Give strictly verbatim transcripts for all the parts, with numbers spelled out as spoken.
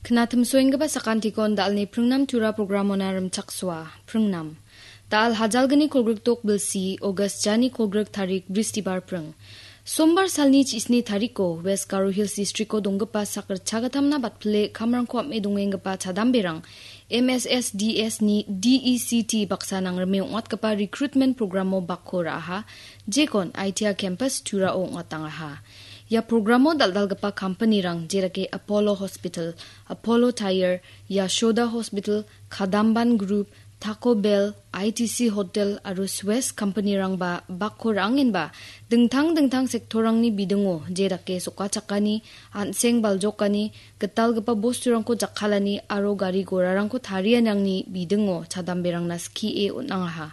Knatimsoenggipa sakantikon dal·ni pringnam tura programona rimchaksoa. Pringnam. Dal hajalgni kolgrikdok bilsi, August jani kolgrik tarik, Bristibar pring. Sombar salni chisni tariko, West Garo Hills Districtko donggipa sak ritchagatamna batpile kamrangko am·e dongenggipa chadamberang, M S S D S ni D E C T baksa nangrime ong·atgipa recruitment programo bakko ra·aha, jekon I T I campus Turao ong·atangaha. Ia programo dal·dalgipa kampanirang, jerake Apollo Hospital, Apollo Tyre, Yashoda Hospital, Kadamban Group, Taco Bell, I T C Hotel aro Swiss kampanirangba bakko ra·angenba dingtang dingtang sektorrangni bidingo, jedake sokachakani, an·seng baljokani, gitalgipa bosturangko jakkalani aro gari gorarangko tarianirangni bidingo chadamberangna skie on·angaha.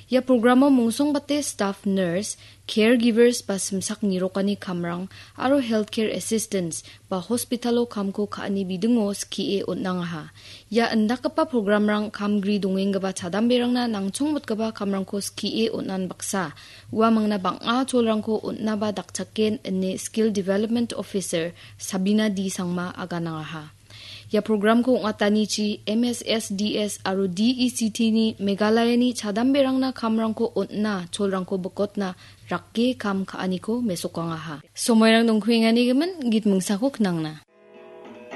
Ia programo mongsongbate staff nurse, caregivers ba simsak nirokani kamrang aro healthcare assistants ba hospitalo kamko ka·ani bidingo skie on·angaha. Ia indakgipa programrang kamgri dongenggipa chadamberangna nangchongmotgipa kamrangko skie on·an baksa, uamangna bang·a cholrangko on·naba dakchaken ine Skill Development Officer Sabina D Sangma aganangaha. Ia programko ong·atanichi M S S D S aro D E C T ni Meghalayani chadamberangna kamrangko on·na cholrangko bikotna rake kam ka·aniko mesokangaha. Somoirang dongkuengani gimin git mingsako knangna.